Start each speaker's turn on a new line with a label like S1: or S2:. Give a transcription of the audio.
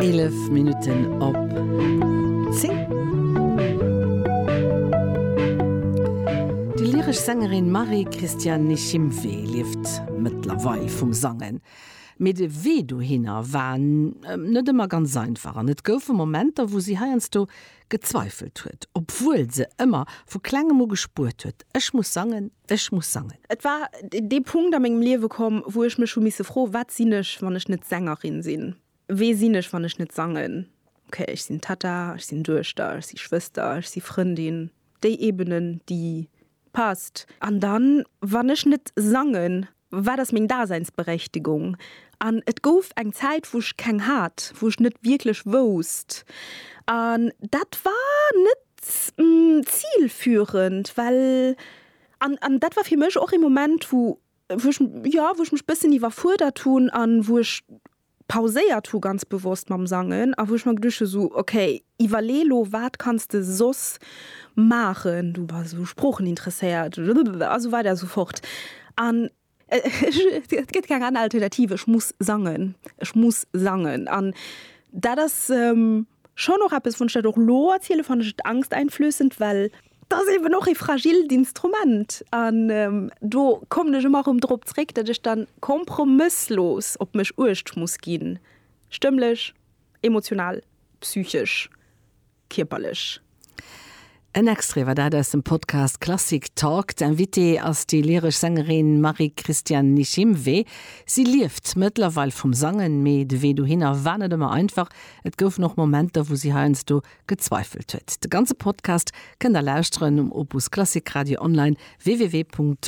S1: 11 Minutten op 10. Déi lyresch Sängerin Marie-Christiane Nishimwe lieft mëttlerweil vum Sangen. Mee de Wee dohinner war net ëmmer ganz einfach an et goufe Momenter, wou si heiansdo gezweifelt huet, obwuel se ëmmer vu klengem u gespuert huet, Ech muss sangen, ech muss sangen.
S2: Et war dee Punkt a mengem Liewe komm, wou ech mech hu misse froen, Wat sinn ech, wann ech net Sängerin sinn? Wee sinn ech, wann ech net sangen? Ok, ech sinn Tatta, ech sinn Duechter, ech si Schwëster, ech si Frëndin. Déi Ebenen, déi passt. An dann, wann ech net sangen, wat ass meng Daseinsberechtigung? An et gouf eng Zäit, wou ech keng hat, wou ech net wierklech wousst. An dat war net zilführend, well, an, an dat war fir mech och ee Moment, wou, wou ech, jo, wou ech mech bëssen iwwerfuerdert hunn an wou ech pauséiert hu ganz bewosst mam Sangen a wou ech mer geduecht hu sou, ok, iwwerlee lo, wat kanns de soss maachen, du bass esou sproocheninteresséiert a sou weider a sou fort. An et gëtt keng aner Alternativ, ech muss sangen, ech muss sangen. An dat ass schonn och eppes, wann ech dat och lo erziele fannen ech et angsteinflößend, well Et ass eben och ee fragilt Instrument an do kommen ech ëmmer erëm drop zréck, datt ech dann kompromësslos op mech uecht muss ginn, stëmmlech, emotional, psychesch, kierperlech.
S1: En Extrait war dat aus dem Podcast Klassik Talk. D'Invitée ass déi lyresch Sängerin Marie-Christiane Nishimwe. Si lieft mëttlerweil vum Sangen, mee de Wee dohinner war net ëmmer einfach. Et goufen och Momenter, wou si heiansdo gezweifelt huet. De ganze Podcast kënnt der lauschteren um Opus Klassik Radio online www.opus.radio.